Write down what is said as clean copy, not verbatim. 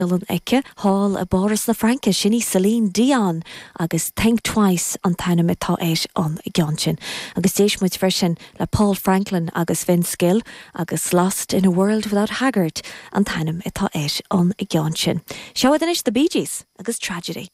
Bialann aici thall i bPáras na Fraince, sin í Celine Dion agus Think Twice an t-ainm atá ar an gceann sin. Agus d'éist muid freisin le Paul Franklin agus Vince Gill agus Lost in a World Without Haggard an t-ainm atá ar an gceann sin. Seo iad anois The Bee Gees agus Tragedy.